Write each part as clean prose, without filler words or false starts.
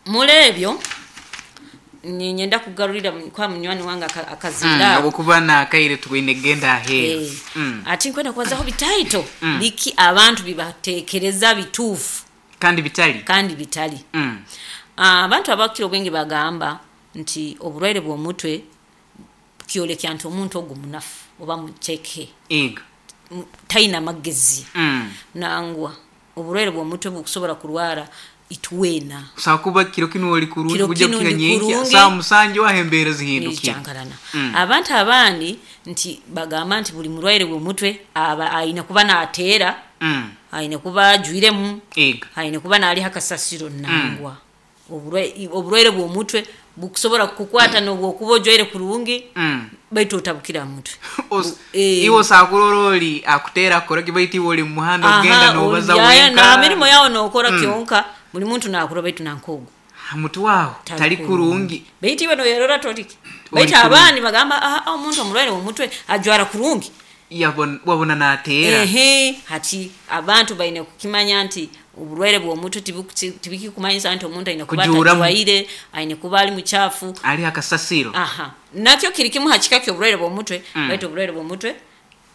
Muli ebyo niinyenda kugarurira kwa munywani wange akazindaaro. Habwokuba n'akaire twine kugenda aheeru. Ati nkwenda kubazaho bitaito biki abantu bibateekereza bituufu Kandi bitali. kandi bitali. Abantu abakukira obwingi bagamba nti oburwaire bw'omutwe kyolekya nti omuntu ogu munafu oba muceke. Ego. Taina magezi. Nangwa oburwaire bw'omutwe bukusobora kurwara itwena. Osobola kuba kiro kinu oli kurungi Kiro kuja kinu kuhika ndi nyenkya kurungi. saaha musanju aho embeera zihindukire. Nikyankarana. Abantu abandi nti bagamba nti buli murwaire w'omutwe aba aine kuba naateera, aine kuba ajwiremu, Ego. aine kuba naaliha kasasiro. Nangwa. Oburwaire bw'omutwe bukusobora kukukwata n'obu okuba ojwaire kurungi, baitu otabukire aha mutwe. Iwe osobola kurora oli akuteera akukora ki baitu iwe oli omu muhanda okugenda noobaza Olyayo wenka. na mirimo yawe nookora kyonka buli muntu naakurora baitu nanka ogu. Ha mutwe aho tali kurungi. Baitu iwe nooyerora toliki. Oli Baitu kurungi. abandi bagamba omuntu omurwaire w'omutwe ajwara kurungi. Wabona naateera. Ehe, hati abantu baine kukimanya nti oburwaire bw'omutwe tibikikumanyisa nti omuntu aine kuba Kujuuramu. atajwaire, aine kuba ali mukyafu. Ali ha kasasiro. Aha. Nakyo kiri kimu ha kika ky'oburwaire bw'omutwe, baitu oburwaire bw'omutwe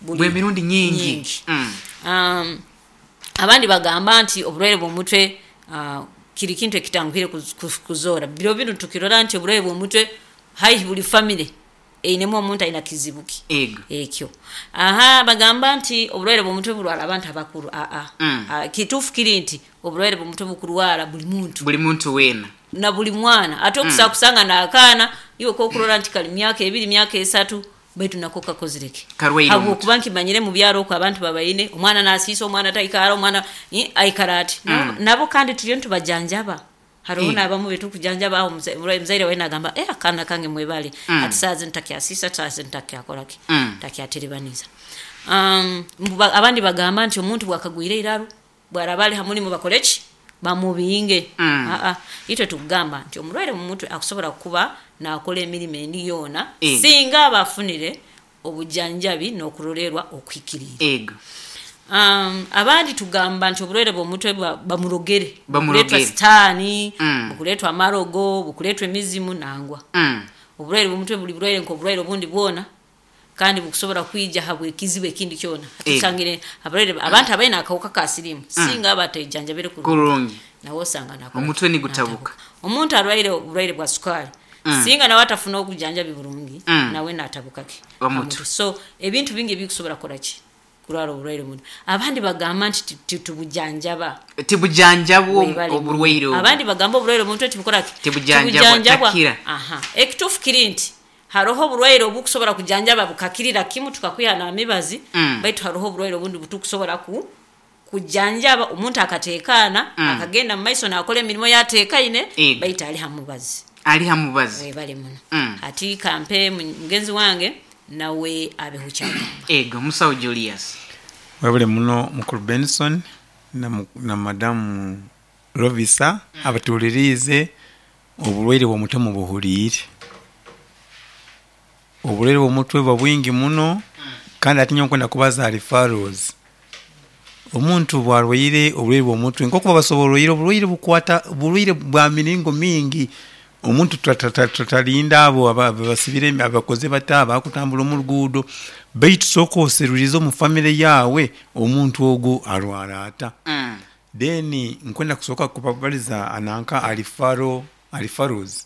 buri Bw'emirundi nyingi. nyingi. Abandi bagamba nti oburwaire bw'omutwe kiri kintu ekitanguhire kuzoora. Biro binu tukirora nti oburwaire bw'omutwe haihi buli famire einemu omuntu aine kizibu ki Ego. ekyo. Aha, bagamba nti oburwaire bw'omutwe burwara abantu abakuru. Kituufu kiri nti oburwaire bw'omutwe bukurwara buli muntu. Buli muntu weena. Na buli mwana. Ate okusobola kusanga n'akaana iwe k'okurora nti kali myaka 2, myaka 3, baitu nako kakozire ki? Karwaire omutwe. Habwokuba nkimanyire mu byaro oku abantu babaine, omwana naasiisa, omwana taikara, omwana aikara ati. Nabo kandi turiyo nitubajanjaba. Haroho n'abamu betukujanjaba aho omuzaire we nagamba, akaana kange mwebale, hati saaha zinu takyasiisa, saaha zinu takyakora ki? Takyaterebaniza. Abandi bagamba nti omuntu bwakagwire eiraru, bwaraba ali ha murimo bakore ki? Bamubinge. Itwe tukugamba nti omurwaire mu mutwe akusobora kuba naakora emirimo endi yoona singa aba afunire obujanjabi n'okurolerwa okuhikiriire. Ego. Abandi tugamba nti oburwaire bw'omutwe bamurogere. Bamurogere. Bukuleetwa sitaani, bukuleetwa amarogo, bukuleetwa emizimu nangwa. Oburwaire bw'omutwe buri burwaire nk'oburwaire obundi bwona kandi bukusobora kwija habw'ekizibu ekindi kyona. Hati tusangire abarwaire abantu abaine akahuka ka siriimu singa aba atejanjabire kurungi, Kurungi. nawe osanga nakora Omutwe nigutabuka. natabuka. Omuntu arwaire oburwaire bwa sukaali singa nawe atafuna obujanjabi burungi, nawe naatabuka ki? Omutwe. Omutwe. So ebintu bingi ebikusobora kukora ki? Kurwara oburwaire bunu. Abandi bagamba nti titubujanjaba. Tibujanjabwa Webale muno. oburwaire obu. Abandi bagamba oburwaire bw'omutwe tibukora ki? Tibujanjabwa, Tibujanjabwa. takira. Aha. Ekituufu kiri nti haroho oburwaire obukusobora kujanjaba bukakirira kimu tukakwiha n'amibazi, baitu haroho oburwaire obundi butukusobora kujanjaba omuntu akateekaana, akagenda mu maiso naakora emirimo yateekaine, baitu ali ha mubazi. Ali ha mubazi. Webale muno. Hati kampe mugenzi wange nawe abeho kyagamba. Ego, Musawo Julius. Webale muno mukulu Benson na madamu Lovisa abatuhuliriize oburwaire bw'omutwe mubuhuliire. Oburwaire bw'omutwe buba bwingi muno kandi ati nyowe nkwenda kubaza aha referrals. Omuntu bwarwaire oburwaire bw'omutwe nkoku babasoboroire oburwaire bukwata burwaire bwa miringo mingi. Omuntu tatarinda abo abasibire abakoze bata abakutambura omu ruguudo baitu sooka oserurize omu famire yaawe omuntu ogu arwara ata. Then nkwenda kusooka kubabariza nanka aha referrals.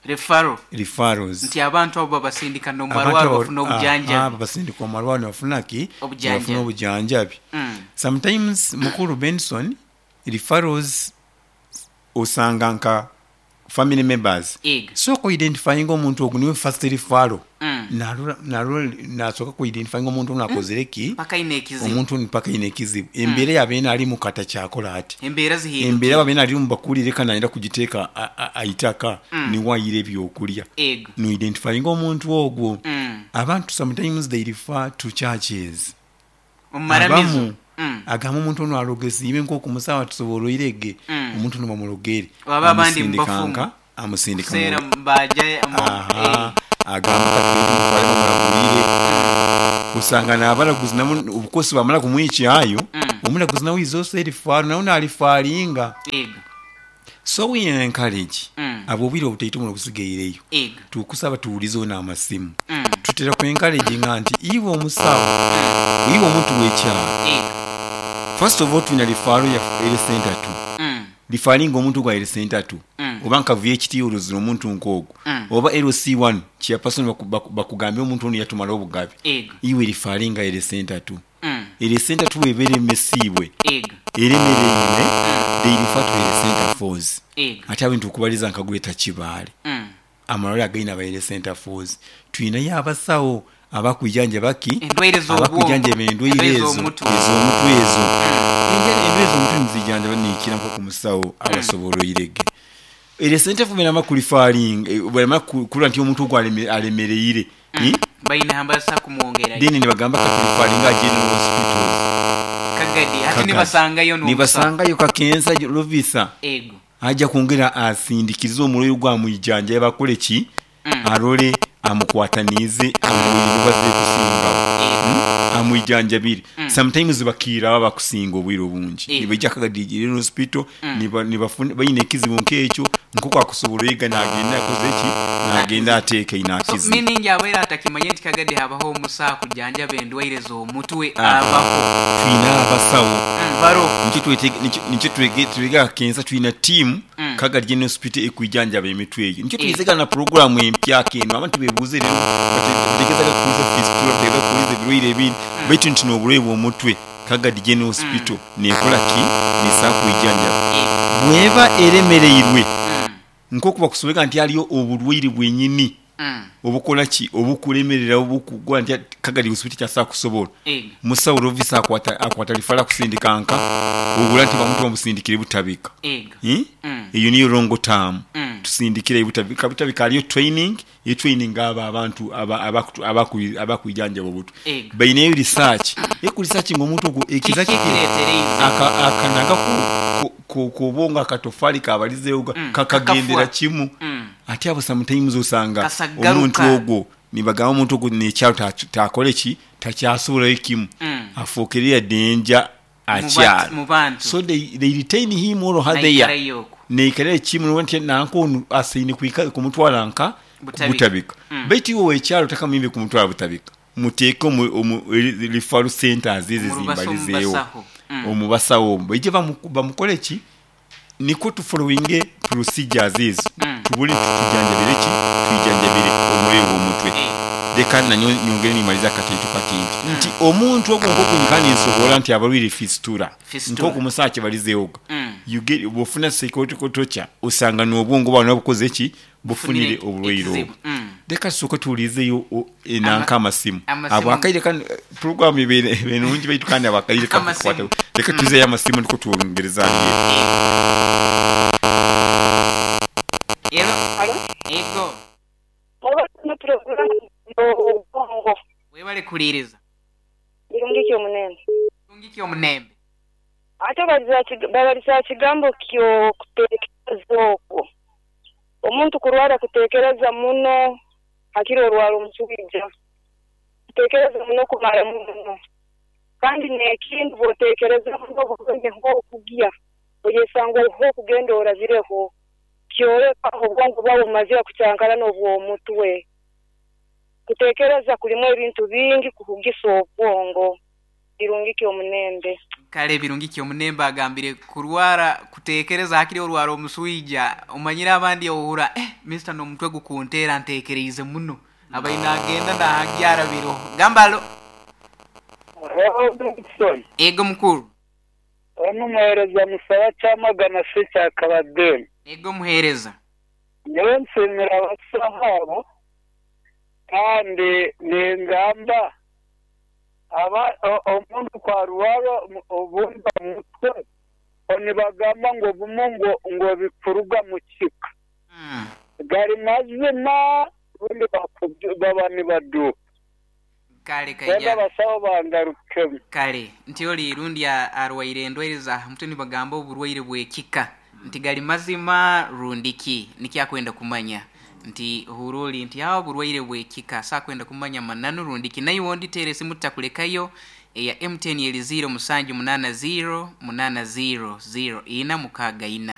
Referral. Referrals. Nti abantu abo babasindika n'omu Abantu marwariro abo bafuna obujanjabi. Babasindika omu marwariro nibafuna ki? Obujanjabi. Nibafuna obujanjabi. Sometimes mukulu Benson, referrals osanga nka family members. Ego. Sooka oidentifyinge omuntu ogu niwe first referral. Narora nasooka kuidentifyinga omuntu onu akozire ki? Mpaka aine ekizibu. Omuntu onu mpaka aine ekizibu. Embeera yabaire narimu katakyakora ati. Embeera zihindukire. Embeera yabaire narimu bakurire ka nayenda kugiteeka aitaka niwe aire ebyokurya. Ego. Noidentifyinga omuntu ogwo. Abantu sometimes they refer to churches. Omu maramizo. Abamu agamba omuntu onu arogesiibwe nk'oku musawo atusoboroire ge, omuntu onu bamurogere. Oba abandi Amusindika mubafumu. nka, amusindika Kuseera mu baja Aha, agamba katugende tumutware bamuragurire. Osanga n'abaraguzi nabo obukosi bamara kumwikyayo, omuraguzi nawe is also erifaaro, nawe narifaringa. Ego. So we encourage abo obwire obutaito muno obusigaireyo, Ego. tukusaba tuwulizeho n'amasimu. Tutera ku encouraginga nti iwe omusawo, iwe omuntu w'ekyaro, Ego. first of all twina rifaaro ya health center tu. Rifaringa omuntu gwa health center tu oba nka VHT orozire omuntu nk'ogwo, oba LC1 chairperson bakugambye omuntu onu yatumara obugabe, Ego. iwe rifaringa health center tu. Health center tu bweba eremesiibwe, Ego. eremereirwe, they refer to health center fours. Ego. Ate awo nitukubaliza nka Greater Kibaale, amalwaliro againe aba health center fours, twinayo abasawo abakwijanjaba ki? Endwaire z'obwongo. Abakwijanjaba endwaire Endwaire ezo, z'omutwe. ez'omutwe ezo. Endwaire ez'omutwe nizijanjaba niikira nk'oku musawo abasoboroirege. Health center four bwemara kurifaringa, bwemara kurora nti omuntu ogu alemereire, Baine hambasa kumwongerayo. Then nibagamba katurifaringa aha general hospitals. Kagadi hati Kagadi. nibasangayo n'omusawo. Nibasangayo Kakensa Lovisa. Ego. Aja kwongera asindikirize omurwaire ogu amwijanjabe bakore ki? Arole amukwataniize amuwire baze kusingaho. Amwijanjabire. Sometimes bakiira aba bakusinga obwire obungi. Nibaija Kagadi General Hospital, baine ekizibu nk'ekyo, nk'oku akusobola oyiga nagenda akoze ki? Nagenda ateekaine So, akizire. meaning abaire atakimanye nti Kagadi habaho omusawo kujanjaba endwaire z'omutwe, abaho. Twine abasawo. Baro. Nikyo twega Kakensa twina tiimu Kagadi General Hospital ekwijanjaba emitwe eyo. Nikyo twizega na puroguramu empya kenu. Abantu bebuuze rero bategezaga kukuliza fistula, bategezaga kukuliza ebirwaire ebindi. Baitu nti n'oburwaire bw'omutwe Kagadi General Hospital nekola ki? Nesobola kwijanjaba. Bweba eremereirwe, nk'oku bakusobeka nti haliyo oburwaire bwenyini obukola ki? Obukulemerera obukugwa nti Kagadi Hospital kyasobola kusobola. Musawo Lovisa akwata rifala kusindika nka ogura nti bamuntu bamusindikire Butabika. Ego. Eyo niyo wrong term. Tusindikire Butabika. Butabika haliyo training, etraining abo abantu abakwijanjaba obutwe. Ego. Baineyo research. Eku research ng'omuntu ogwo ekiza Kiki kiki? kireetereize? Akanaga kubonga akatofali kabalizeewo kakagendera Kakafwa. kimu. Ate abo sometimes osanga Kasagaruka. omuntu ogwo nibagamba omuntu ogwo n'ekyalo takole ki? Takyasobolayo kimu. Afuukire danger akyalo. Mu bantu. So they retain him or her there. Naikarayo okwo. Naikarira kimu nti nanka onu asaine kumutwala nka Butabika. Butabika. Baitu iwe ow'ekyalo takamwimbe kumutwala Butabika. Muteeke omu referral centers ezo Omu zimbalizeewo. basaho. Omu basawo omwo. Baije bamukole ki? Nikwo tufollowinge procedures ezo. Tubone tujanjabire ki? Twijanjabire omurwaire w'omutwe. Leka nanyo nyongere nimaliza akataitu kati nti omuntu ogwo nk'oku nyikara ninsobola nti abarwaire fistula. Fistula. Nk'oku musawo akibalizeewo. You get bw'ofuna psychological torture osanga n'obwongo bwawe nabwo bukoze ki? Bufunire Bufunire oburwaire ekizibu. obwo. Leka tusooke tuwulizeyo nanka amasimu. Amasimu. Abo akaire kano puroguramu ebe nungi baitu kandi abo akaire Amasimu. kakukwata. Leka tuwizeyo amasimu niko twongereza hali. Elo. Alo? Ego. Oba no programu y'obwongo. Webale kuliiriza. Birungi omunembe. Birungi omunembe. Ate babaliza kigambo ky'okuteekereza okwo. Omuntu kurwara kuteekereza muno hakiri orwara omuswija. Kuteekereza muno kumara muno. Kandi n'ekindi bw'oteekereza muno obugenyi nk'okugya oyesanga oho okugenda orabireho kyoleka obwongo bwawe bumazire kucyankarana obw'omutwe. Kuteekereza kulimu ebintu bingi kuhugisa obwongo. Birungi omunembe. Kale birungi omunembe agambire kurwara kuteekereza hakiri orwara omuswija omanyire abandi ohura mister n'omutwe gukunteera nteekereize muno abaine agenda nahagyara biroho gamba alo. Ego mukuru. Ono muhereza musaba kyamagana se kya Kabadeni. Ego muhereza. Nyewe nsimira abasaho abo kandi ningamba aba omuntu kwarwara obumba mutwe onibagamba ngo bumu ngo bikuruga mu kika. Gari mazima ubundi baba nibaduka. Kale Benda kaija. abasawo bangarukemu. Kale nti oli irundi arwaire endwaire za mutwe nibagamba oburwaire bw'ekika nti gali mazima rundiki nikyakwenda kumanya. Nti ohurra oli nti aho oburwaire bw'ekika saakwenda kumanya mananu rundi ki. Naiwe ondi teera esimu tutakulekayo eya MTN eri 0 musanju munaana 0 munaana 0 0 ina mukaaga ina.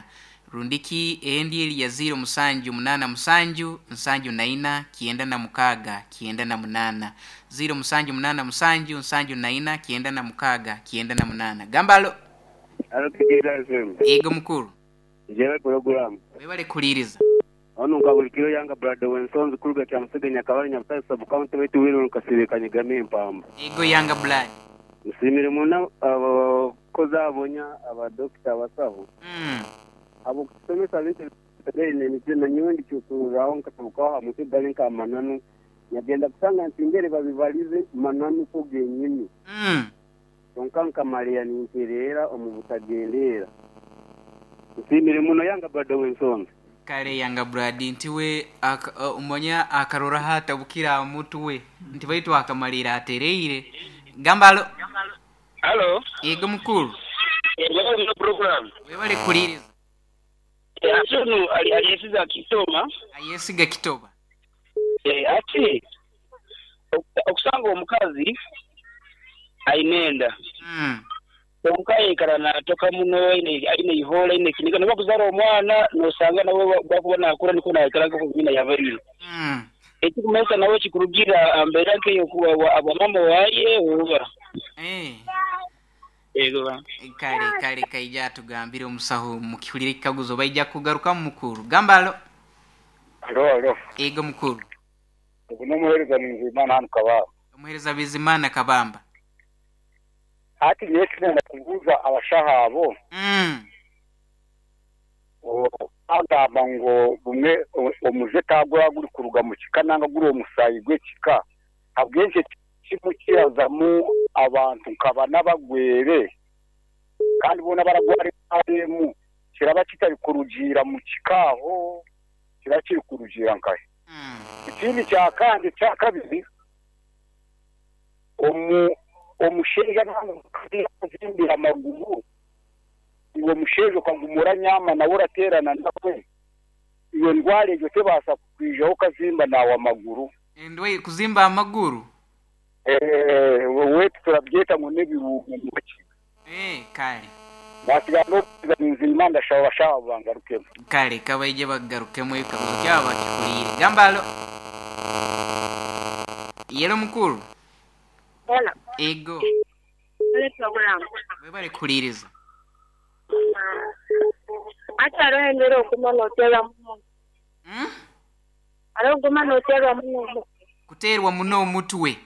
Rundi ki endi eri ya 0 musanju munaana musanju nsanju na ina kyenda na mukaaga kyenda na munaana. 0 musanju munaana musanju nsanju na ina kyenda na mukaaga kyenda na munaana. Gamba alo. Alo Kigiriza FM. Yego mukuru. Njebe pulogulaamu. Webale kuhuliriza. Onu nka bulikiro yanga Brother Wensonzi kuruga Kyamusege Nyakabale Nyabutare Sub County baitu Wiruru Kasibe Kanyigami Empamba. Yego yanga blood. Nsiimire muno abakozi abonya abadokita abasaho abukusomesa bintu na nyowe ndikyusurraho nkatabukaho ha mutwe gali nka mananu nyagenda kusanga nti ngere babibalize mananu ko genyini kyonka nkamaliya nintereera omu butagendeera. Nsiimire muno yanga Brother Wensonzi. Kale yanga Brad nti we omonya akarora hatabukira aha mutwe nti baitu akamalira atereire. Gamba alo. Alo. Yego mukuru. Yego program. Webale kuhuliriza. Ati aliyesiga Kitoba. Ayesiga Kitoba. Ati okusanga omukazi ainenda. Omukazi aikara natoka muno aine ihola aine kiniga niba kuzara omwana nosanga nawe bakuba nakura niko naikara nko nyina yabarire. Ekikumesa nawe kikurugira ambera nkeyo kuwa abamama waye oba. Ego. Kale kale kaija tugambire omusaho mukihulire ekikaguzo baija kugaruka mukuru. Gamba alo. Alo alo. Ego mukuru. Ogu n'omuheereza Bizimana hanu Kabamba. Omuheereza Bizimana Kabamba. Hati nyowe tinenda kubuuza abashaho abo. Agamba ngu bumwe omuze tagura guri kuruga mu kika nanga guri omusayi gw'ekika. Habwenki kimu kirazamu abantu nkaba n'abagwere kandi bona baragwara emu kiraba kitari kurugira mu kikaho kiraba kiri kurugira nkahe. Ikindi kya kandi kya kabiri omusheija nanga amaguru iwe musheija okagumura nyama nawe oraterana nawe iyo ndwara egyo tebaasa kukwijaho okazimba nawe amaguru. Endwaire kuzimba amaguru? Wetu turabyeta ngo n'ebirungo mu kigo. Kale. Nasiga n'okuza nzima ndashaba bashaba bangarukemu. Kale kabaije bagarukemu ebikaguzo kyabo bakikuliire. Gamba alo. Yelo mukuru. Hello. Ego. Hello program. Webale kuhuliriza. Ati hariho embera oguma nooterwa muno. Hariho oguma nooterwa muno. Kuterwa muno omutwe.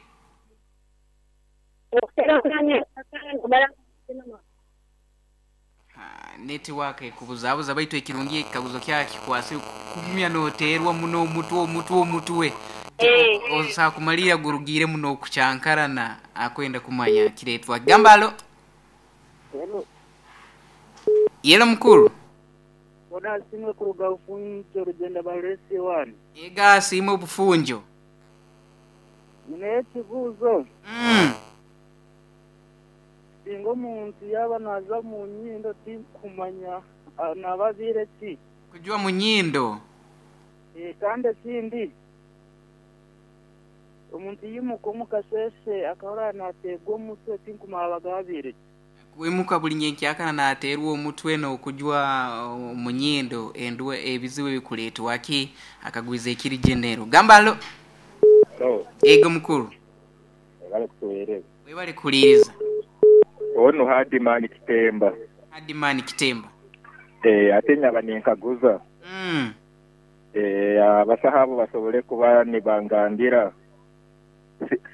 Netiwaka ekubuzabuza baitu ekirungi ekikaguzo kyakikwase kugumya nooterwa muno omutwe omutwe omutwe. Osa kumalira gurugire muno okucyankarana akwenda kumanya kiretwa. Gamba alo. Hello. Yelo mukuru. Bona simwe kuruga ufunjo rugenda baresi wani. Ega simwe bufunjo. Nine ekibuzo. Singa omuntu yaba naza mu nyindo tinkumanya nababire ki. Kujua mu nyindo. Kandi ekindi omuntu yimuka omukasese akahora nateegwa omutwe tinkumanya bagabire ki. Kuimuka buli nyenkyakana nateerwa omutwe n'okujwa mu nyindo endwe ebizibu ebikuleetwa ki akagwiza ekiri genero. Gamba alo. Hello. Ego mukuru. Webale kutuweereza. Webale kuhuliriza. Ono Hadimani Kitemba. Hadimani Kitemba. Ate nyaba ninkaguza. Abasaho abo basobole kuba nibangambira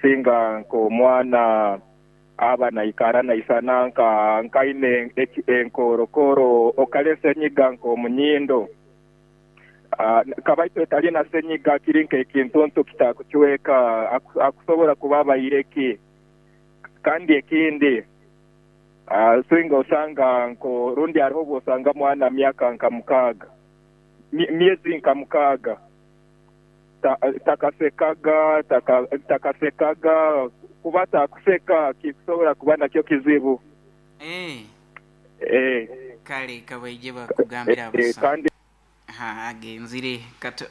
singa nk'omwana aba naikara naisana nka nkaine enkorokoro okale senyiga nk'omunyindo. Kabaito etalina senyiga kiri nk'ekintuntu kitakukiweka akusobola kuba abaireki. Kandi ekindi singa osanga nko rundi hariho bwosanga mwana myaka nka mukaaga myezi nka mukaaga takasekaga kuba takuseka kisobola kuba nakyo kizibu. Kale kabaije bakugambira abasa. Kandi Ha, agenzire.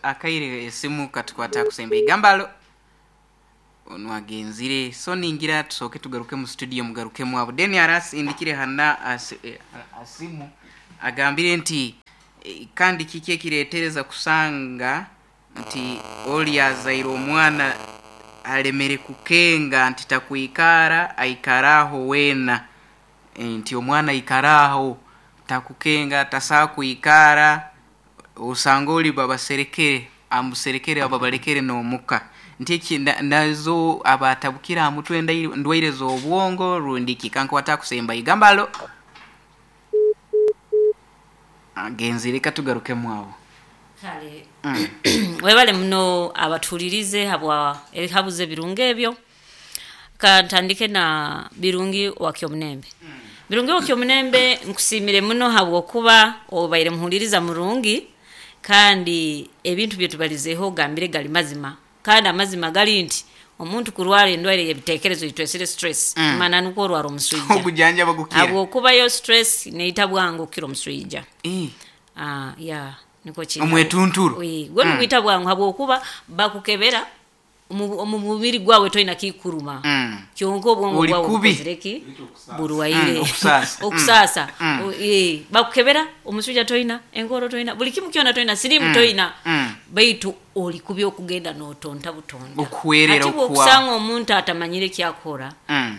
Akaire esimu katukwata kusemba igambalo ono agenzire. So ningira tusooke tugaruke mu studio, mugarukemu abo. Deni arasindikire hana asimu agambire nti kandi kiki ekireetereza kusanga nti oli azaire omwana alemere kukenga nti takwikara, aikaraho weena. Nti omwana aikaraho takukenga, tasaa kwikara, osanga oli babaserekere, amuserekere ababalekere n'omuka. Nti eki nazo abatabukira aha mutwe, ndwaire z'obwongo rundi ki? Kankwata kusemba igambalo agenzire, katugarukemu awo. Kale, webale muno abatuulirize habwa ebihabuzo ebirungi ebyo. Kantandike na Birungi wa Kyomunembe. Birungi wa Kyomunembe, nkusiimire muno habwokuba obaire muhuliriza murungi, kandi ebintu byetubalizeeho ogambire gali mazima, kandi amazima gali nti omuntu kurwara endwaire y'ebiteekerezo itwesire stress, mana nukwo orwara omuswija. Ogujanjaba gukira. Habwokuba yo stress neita bwangu okukira omuswija. Ya, niko kiri. Omwetunturo. Gwe nigwita bwangu habwokuba bakukebera omu mubiri gwawe toina kikuruma, kyonka obwongo Oli bwawe kubi. bukozire ki? Burwaire. Okusaasa. Okusaasa. Bakukebera omuswija toina, enkoro toina, buli kimu kyona toina, sirimu toina, baitu oli kubi okugenda notonta butonda. Okuhwerera. Ati okuwa. bwokusanga omuntu atamanyire kyakora,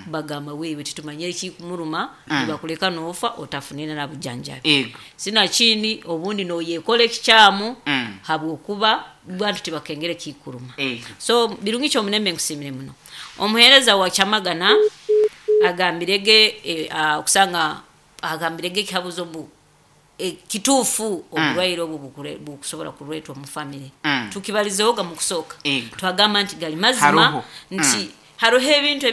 bagamba wewe titumanyire kikumuruma, nibakuleka nofa otafunire na bujanjabi. Sinakindi obundi noyekola ekikyamu, habwokuba bantu tibakengere kikuruma. So Birungi Kyomunembe, nkusiimire muno. Omuheereza wa Kyamagana agambirege, okusanga agambirege ekihabuzo mbu kituufu oburwaire obu bukusobora kureetwa mu family. Tukibalizehoga mu kusooka, twagamba nti gali mazima. Haroho. Nti haroho ebintu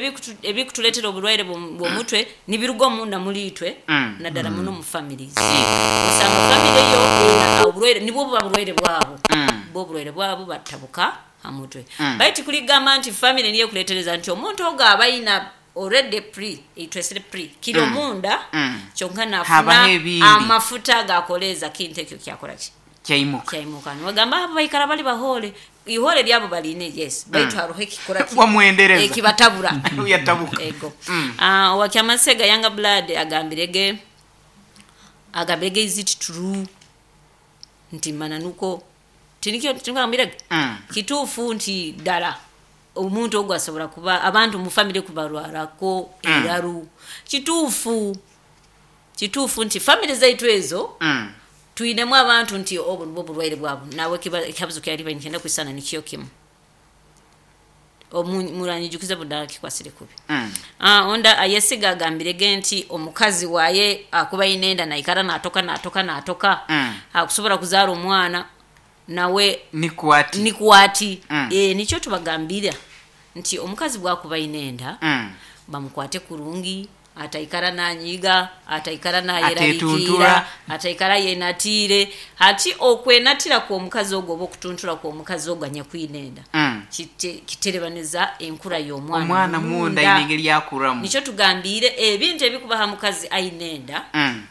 ebikutuleetera oburwaire bw'omutwe nibiruga omunda muri itwe, naddala muno mu families. Osanga family yo erina oburwaire, nibwo buba burwaire bwabo, bwo oburwaire bwabo batabuka ha mutwe. Baitu kuligamba nti family niyo ekuleetereza, nti omuntu ogo aba ayina already pre itwesire pre kiri omunda, kyonka nafuna Habaho ebindi. amafuta gakoleeza kintu ekyo kyakora ki? Kyaimuka. Kyaimuka. Nibagamba abo baikara bali bahole, ihole lyabo baline, yes, baitu haroho ekikora ki? Wamwendereza. Ekibatabura. Yatabuka. Ego. Owakyamasega Younger Blood agambirege is it true nti mananuko tinikyo tinigambirege kituufu nti ddala omuntu ogwo asobola kuba abantu mu famire kubalwarako eraru? Kituufu, kituufu nti famire zaitu ezo twinemu abantu nti obwo nibwo burwaire bwabo. Nawe ekihabuzo kyali nikyenda kwisana nikyo kimu. Muranyijukize budala kikwasire kubi. Onda ayesiga agambirege nti omukazi waye akuba inenda naikara natoka natoka natoka, akusobola kuzaara omwana nawe. Nikwati. Nikwati. Nikyo tubagambira nti omukazi bwakuba inenda, bamukwate kurungi, ataikara nanyiga, ataikara nayerarikira, Atetuntura. ataikara yenatiire. Hati okwenatira kw'omukazi ogwo oba okutuntura kw'omukazi ogwo anyakwinenda, kiterebaniza enkura y'omwana. Omwana munda ayina engeri yakuramu. Nikyo tugambire ebintu ebikubaha mukazi ainenda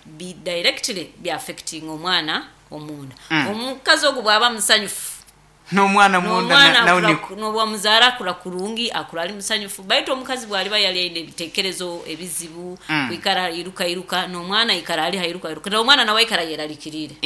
bi directly byaffecting omwana omunda. Omukazi ogwo bwaba musanyufu, n'omwana munda n'omwana nawe niko. N'obwamuzaara akura kurungi, akura ali musanyufu. Baitu omukazi bwaliba yali aine ebitekerezo ebizibu, kwikara iruka iruka, n'omwana ikara ali hairuka iruka, n'omwana nawe aikara yerarikirire.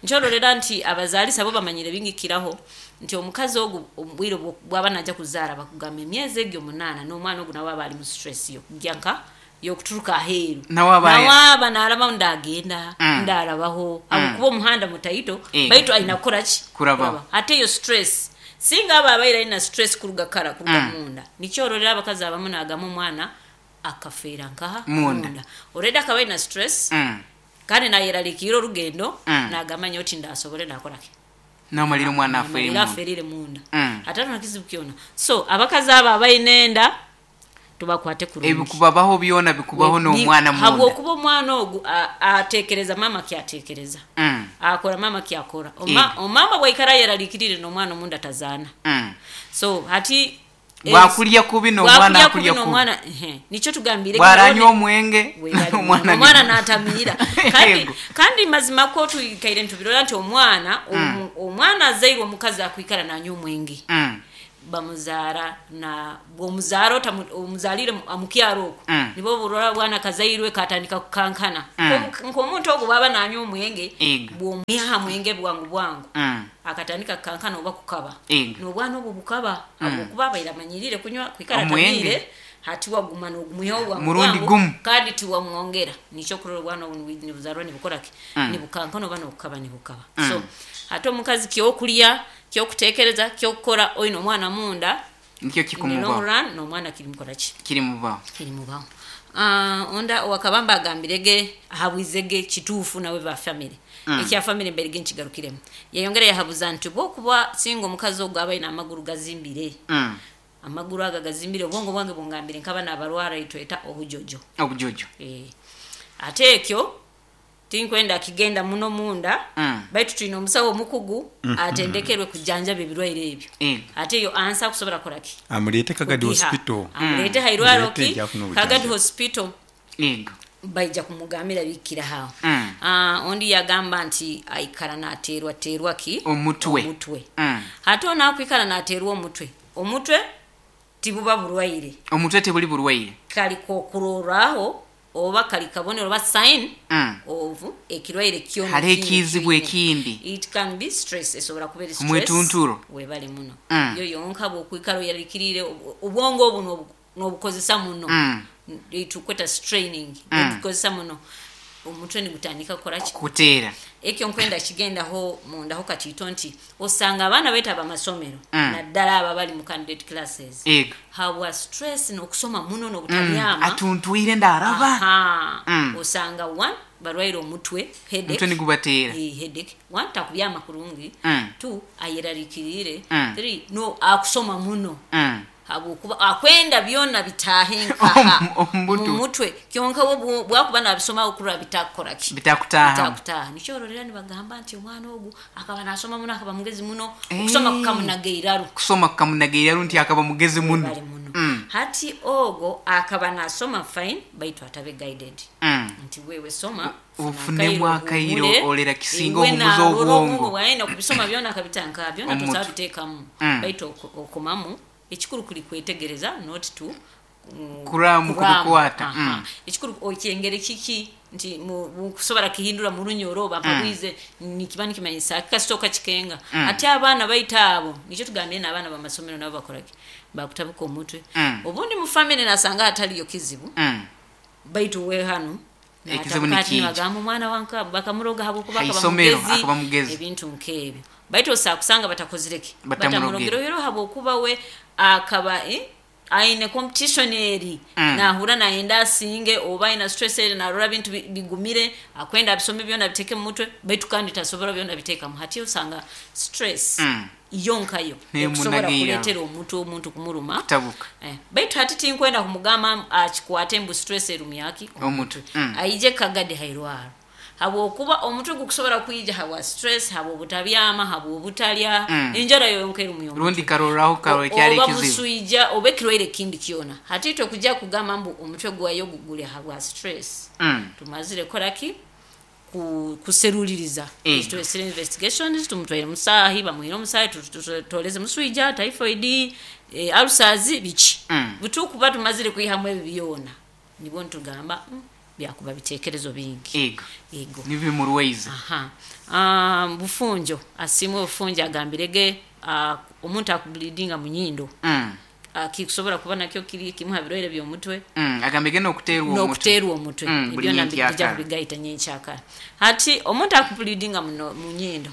Nkyolorera nti abazaalisa bo bamanyire bingikiraho nti omukazi ogu obwire bwaba najja kuzaara, bakugamba emyezi egyo 8, n'omwana ogu nawe aba ali mu stress yokujja nka yokuturuka aheeru. Nawe nawe aba naraba ndagenda, ndarabaho, habwokuba omuhanda mutaito. Baitu aina kukora ki? Kurabaho. Ate eyo stress, singa aba abaire alina stress kuruga kara, kuruga munda. Nikyororera abakazi abamu nagamba omwana akafeera nkaha? Munda. Already akaba alina stress, kandi nayeraliikirira orugendo, nagamba nyowe tindasobole nakoraki. Namalira omwana afere Namalira munda. aferire munda. Ate na kizibu kyona. So abakazi abo abaine enda tubakwate kurungi. Ebikubabaho byona bikubaho n'omwana munda. Habwokuba omwana ogu atekereza mama kyatekereza, akora mama kyakora. Omama bwaikara yeraliikirire, n'omwana omunda tazaana. So hati Bwakulya kubi n'omwana Bwakulya akulya kubi kubi. n'omwana ehe. Nikyo tugambire Bwaranywa omwenge Webali omwana omwana n'atamiira. Kandi Yego. kandi mazima ko tuikaire ntubirora nti omwana omwana azairwe omukazi akwikara nanywa omwenge bamuzaara na bwomuzaara omuzaalire amukyaro okwo nibo burora bwana kazairwe katandika kukankana. Nk'omuntu ogwo bwaba nanywa omwenge, Ego. bwomwiha mwenge bwangu bwangu akatandika kukankana oba kukaba, Ego. n'obwana obwo bukaba habwokuba abaire amanyirire kunywa kwikara Omwenge. atamiire, hati waguma n'ogumwihaho bwangu Murundi bwangu, gumu. kandi tiwamwongera. Nikyo kurora obwana obu nibuzarwa nibukoraki, nibukankana oba nobukaba nibukaba. So ate omukazi kyokulya, kyokutekereza, kyokukora oine omwana munda, Nikyo in the long kikumubaho. run n'omwana kirimukoraki, Kirimubaho. kirimubaho. Onda wakabamba agambirege ahabwizege kituufu nawe ba family. Ekya family mberege nkigarukiremu. Yayongera yahabuza nti bwokuba singa omukazi ogwo aba aine amaguru gazimbire, amaguru aga gazimbire, obwongo bwange bungambire nkaba nabarwara itweta obujojo. Obujojo. Ate ekyo tinkwenda kigenda muno munda, baitu tulina omusawo omukugu atendekerwe kujanjaba ebirwaire ebyo. Ego. Ate eyo ansa kusobola kukoraki, Amuleete Kagadi Kugiha. Hospital. Amuleete hairwaro Muleete ki ejja afune Kagadi obujanjabi. Hospital. Ego. Baija kumugambira bikira hawo. Ondi yagamba nti aikara nateerwa teerwa ki Omutwe. omutwe. Ate onakwikara nateerwa omutwe, omutwe tibuba burwaire. Omutwe tebuli burwaire. Kali kokurorraho oba kali kabonero oba sign of ekirwaire kyona Hariho kindi ekizibu kyine. ekindi. It can be stress, esobora kuba eri stress. Omwetunturo. Webale muno. Yo yonka bwokwikara oyarikirire obwongo obu n'obukozesa muno, tukweta straining, obukozesa muno, omutwe nigutandika kukoraki, Kuteera. Ekyo nkwenda kigendaho mundaho katiito nti osanga abaana baitu abamasomero, naddala abo abali mu candidate classes, Ego. habwa stress n'okusoma muno n'obutabyama. Atuntwire ndaraba. Aha. Osanga one, barwaire omutwe, headache. Omutwe nigubateera. Headache. One, takubyama kurungi. Two, ayerarikirire. Three, no akusoma muno, habwokuba akwenda byona bitaahe nkaha Omutwe. mumutwe. Kyonka we bwakuba nabisoma okurora bitakukoraki, Bitakutaahamu. bitakutaaha. Nikyororera nibagamba nti omwana ogu akaba nasoma muno, akaba mugezi muno, okusoma kukamunaga eiraru. Kusoma kukamunaga eiraru nti akaba mugezi muno. Bali muno. Hati ogwo akaba nasoma fine, baitu atabe guided nti wewe soma, funa Ofunemu akairo, akairo, ohumure, olera kisinga iwe ohumuza narora obwongo. obwongo bwawe nokubisoma byona akabitanka byona Omutwe. tosaba biteekamu. Baitu okomamu ekikuru kuli kwetegereza, not to Kuramu kubikwata. Aha. Ekikuru okyengere kiki nti mukusobola kihindura murunyoro oba mpabwize nikiba nikimanyisa kasooka kikenga. Ate abaana baita abo nikyo tugambire n'abaana bamasomero nabo bakoraki, bakutabuka omutwe. Obundi mu family nasanga hataliyo kizibu, baitu we hano Ekizibu n'atabuka ati nikiija. nibagamba omwana wanka bakamuroga habwokuba akaba Haisomero, mugezi, akaba mugezi. ebintu nk'ebyo, baitu osobola kusanga batakozireki, Batamurogere. batamurogere rero habwokuba we akaba aine competition eri, nahura nayenda asinge, oba aina stress eri, narora bintu bigumire, akwenda abisome byona biteke mu mutwe, baitu kandi tasobola byona bitekamu. Hati osanga stress yonkayo ekusobola Nemunagirira. kuleetera omuntu omuntu kumuruma. Kutabuka. Baitu hati tinkwenda kumugamba akikwate mbu stress erumyaki Omutwe. Aije Kagadi hairwaro, habwokuba omutwe gukusobola kwija habwa stress, habwa obutabyama, habwa obutalya, enjara yonka erumya omutwe. Rundi karoraho karora kyali Oba ekizibu. buswija oba ekirwaire kindi kyona. Hati itwe kujja kugamba mbu omutwe gwayo guli habwa stress, tumazire koraki, kuseruliriza. Twesire investigations, tumutwaire musaahi, bamuhire omusaahi, tutoleze muswija, typhoid, ulcers, biki. Butukuba tumazire kwihamu ebyo byona, nibwo nitugamba byakuba bitekerezo bingi. Ego. Ego. Nibimurwaize. Aha. Bufunjo asimwe obufunjo agambirege omuntu akubleedinga mu nyindo, kikusobola kuba nakyo kiri kimu ha birwaire by'omutwe. Agambege n'okuteerwa omutwe. N'okuteerwa omutwe. Buli Ebyo nyenkyakara. nabijja kubigaita nyenkyakara. Hati omuntu akubleedinga muno mu nyindo,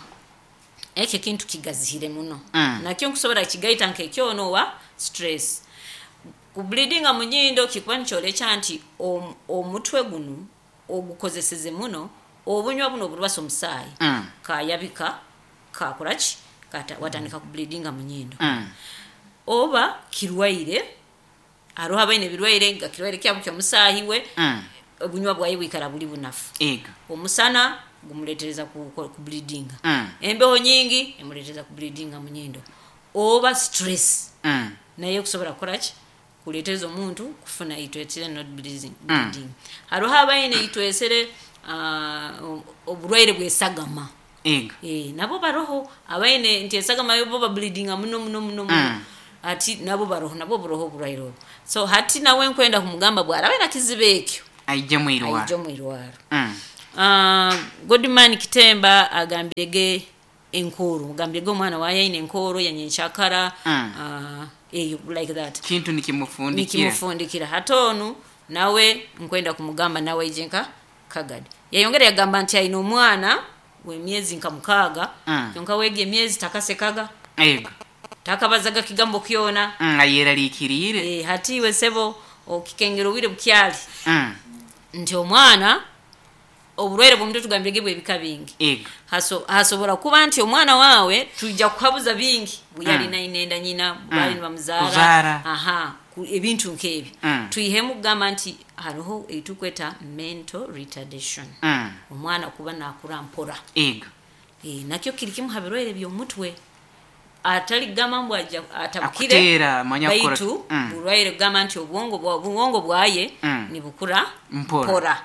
ekyo kintu kigazihire muno. Nakyo nkusobola kigaita nk'ekyono wa stress. Kubleedinga mu nyindo kikuba nikyolekya nti omutwe guno ogukozeseze muno, obunywa buno oburubasa omusaayi kayabika kakoraki, watandika kubleedinga mu nyindo. Oba kirwaire, hariho abaine ebirwaire nga kirwaire kyabo ky'omusaahi we, obunywa bwaye bwikara buli bunafu. Ego. Omusana gumuletereza kubleedinga, embeho nyingi emuletereza kubleedinga mu nyindo, oba stress. Naye kusobola kukoraki kuleeteza omuntu kufuna itwetire not bleeding, bleeding. Hariho abaine itwesere oburwaire bwesagama. Ego. Nabo baroho abaine nti esagama yo bo bableedinga muno muno muno muno. Ati nabo baroho, nabo buroho oburwaire obwo. So hati nawe nkwenda kumugamba bwarabe na kizibu ekyo aije mwirwaro, aije omwirwaro. Godman Kitemba agambirege enkoro, agambirege omwana waye aine enkoro yanyenkyakara. Eyo like that kintu nikimufundikira, nikimufundikira. Hati onu nawe nkwenda kumugamba nawe aije nka Kagadi. Yayongera yagamba nti aine omwana w'emyezi nka 6. Kyonka wega emyezi takasekaga. Ego. Takabazaga kigambo kyona. Ayeraliikiriire. Hati iwe sebo okikengera obwire bukyali. Nti omwana oburwaire bw'omutwe tugambirege bw'ebika bingi. Ego. Hasobora kuba nti omwana wawe tujja kuhabuza bingi buyali nainenda nyina bali nibamuzaara. Aha, ebintu nk'ebyo. Twihemu kugamba nti hariho eitukweta mental retardation. Omwana kuba nakura mpora. Ego. Nakyo kiri kimu ha birwaire by'omutwe. Atali kugamba mbu aja atabukire akutera manya baitu burwaire kugamba nti obwongo bwaye nibukura mpora.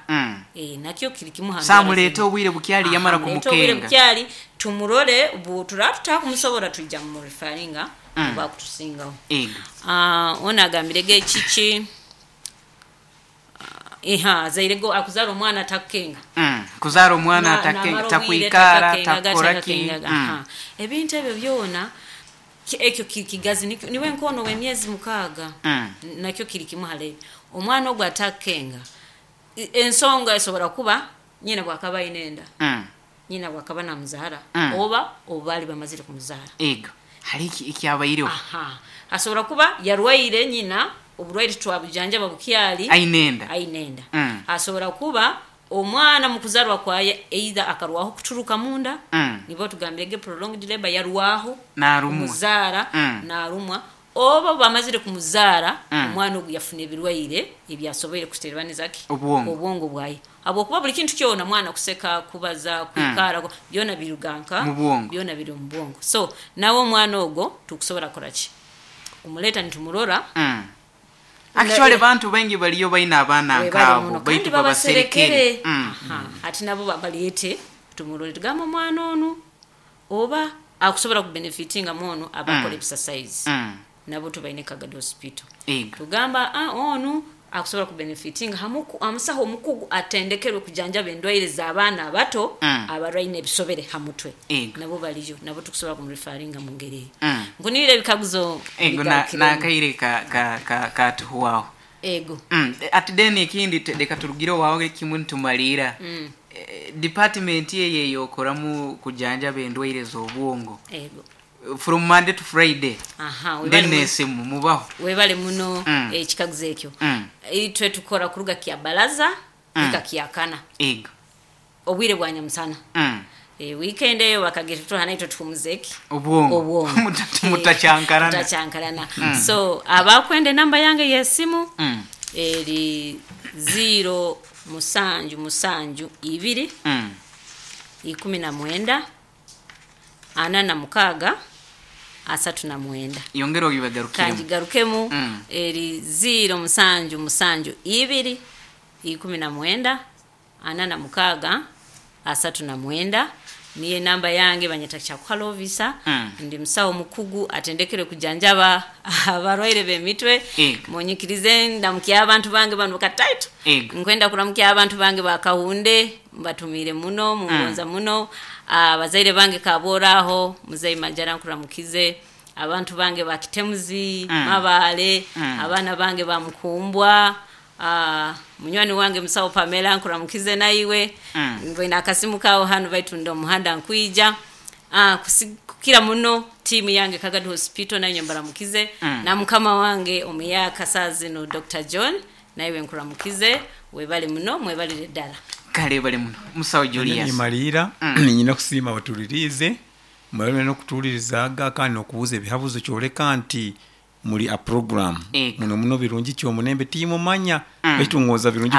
Nakyo kiri kimu ha samuleta obwire bukyali yamara kumukenga obwire bukyali tumurole butura kumusobora tujja mu referringa oba kutusingaho. Ona agambirege kiki zairego akuzara omwana takenga. Kuzara omwana takenga, takwikara, takoraki. Ebintu ebyo byona ekyo kigazi niwe nkono w'emyezi 6. Nakyo kiri kimu hale omwana ogwo atakenga. Ensonga esobora kuba nyina bwakaba inenda. Nyina bwakaba namuzara oba obali bamazire kumuzara. Ego hari ikyabayireho. Asobora kuba yarwaire nyina oburwaire twabujanjaba bukyali ainenda. Asobora kuba omwana mukuzarwa kwaye either akarwaho kuturuka munda. Nibo tugambirege prolonged labor, yarwaho narumwa narumwa oba bamazire kumuzara. Omwana ogu yafuna ebirwaire ebyasoboire kuterwanizaki obwongo bwaye. Habwokuba buli kintu kyona mwana kuseka, kubaza, kwikara, byona biruganka byona biri mu bwongo. So nawe omwana ogwo tukusobola koraki kumuleta nitumurora. Actually bantu bengi baliyo baina abaana nkabo baitu babaserekere. Ati nabo babaliyete tumurore tugamba omwana onu oba akusobola kubenefitinga muono abakola exercise. Nabo tubaine Kagadi Hospital. Tugamba onu akusobola kubenefitinga amusaho omukugu atendekerwe kujanjaba endwaire z'abaana abato abarwaine ebisobere ha mutwe. Nabo baliyo, nabo tukusobola kumreferringa mu ngeri eyo. Nkunire ebikaguzo. Ego nakaire ka tuhuwaho. Ego. Ati deni ekindi leka turugire wawe kimu ntumalira. Department ye yokoramu kujanjaba endwaire z'obwongo. Ego. From Monday to Friday. Nesimu mubaho. Webale muno ekikaguzo ekyo. Itwe tukora kuruga kya balaza ika kyakana. Ego. Obwire bwa nyamusana. Weekend eyo bakagira tuhana itwe tukumuzeki. Obwongo. Mutachankarana. Mutachankarana. So abakwende namba yange yesimu eri 0 7 7 2 19 46 39. Yongera ogibagarukiremu. Kanjigarukemu. Eri 0 7 7 2 19 46 39. Niye namba yange banyeta Kyakuhalovisa. Ndi musawo mukugu atendekere kujanjaba abarwaire b'emitwe. Munyikirize ndamukya abantu bange bano kataitu. Nkwenda kuramukya abantu bange bakahunde mbatumire muno mungonza muno. Abazaire bange kaboraho muzei Majara nkuramukize. Abantu bange bakitemuzi mabale. Abana bange bamukumbwa. Munywani wange musawo Pamela nkuramukize naiwe. Mbona akasimu kawo hano baitunda omuhanda nkwija. Kukira muno timu yange Kagadi Hospital nayo mbaramukize. Na mukama wange omuyaka sazino Dr. John naiwe nkuramukize. Webale muno mwebalire ddala. Kale bale muno musawo Julius. Nimalira ninyina kusiima batulirize mwebale n'okutuulirizaga kandi n'okubuuza ebihabuzo kyoleka nti muli a program. Muno muno birungi kyomunembe timumanya baitu ngoza birungi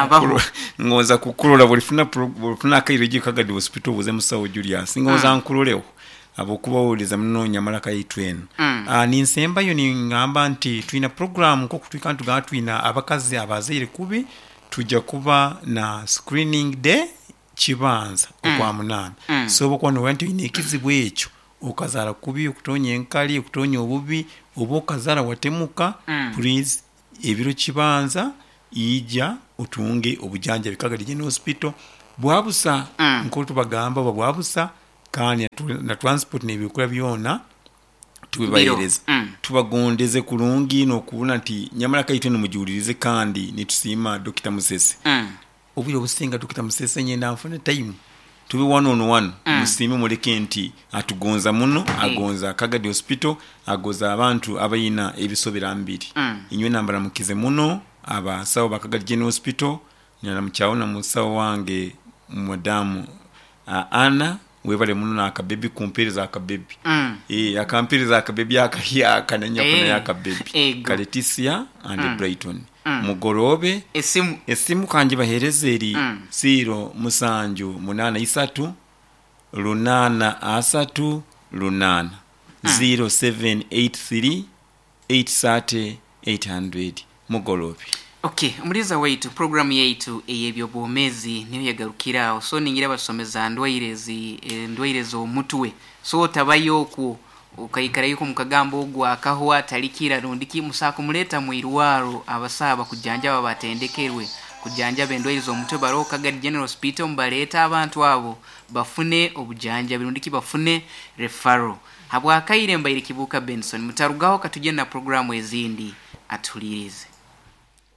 ngoza kukulola bulifuna akaire gi Kagadi Hospital buze musawo Julius ngoza nkuloleho. Habwokuba muno nyamaraka yaitu enu. Ninsembayo ningamba nti twina program nk'oku tugamba twina abakazi abazaire kubi, tujja kuba na screening day kibanza okwa 8. So oba noba nti oine ekizibu ekyo, okazara kubi, okutonya enkali, okutonya obubi, oba okazara watemuka, please ebiro kibanza ija otunge obujanjabi Kagadi General Hospital bwabusa. Nk'otubagamba oba bwabusa kandi na transport n'ebyokulya byona tubibahereza. Tubagondeze kurungi n'okubona nti nyamaraka yaitu enu mugiwulirize, kandi nitusiima Dr. Musese. Obwire obusinga Dr. Musese nyenda nfune time tube one on one, musiime muleke nti atugonza muno, agonza Kagadi Hospital, agoza abantu abalina ebisobera mbiri. Inywe nambaramukize muno abasawo ba Kagadi General Hospital, naramukyaawo na musawo wange madamu Anna, webale muno n'akabebi kumpereza akabebi. Akampereza akabebi akahyaka nanyafunayo akabebi. Ego. Kaletisia and Brighton. Mugoroobe. Esimu. Esimu kangibahereze eri 0783 838 0783 830 800. Mugoroobe. Okay, omuliza waitu, programu yaitu ey'ebyobwomeezi niyo yagarukiraho. So ningira basomeza ndwaire ezi endwaire z'omutwe. So otabayo okwo okaikarayo mukagamba ogu akahwa talikira rundiki, musa kumuleta mu irwaro abasawo bakujanjaba batendekerwe kujanjaba endwaire z'omutwe baroho Kagadi General Hospital, mubaleeta abantu abo bafune obujanjabi rundiki bafune referral. Habwakaire mbaire Kibuuka Benson, mutarugaho katugende na programu ezindi atuhulirize.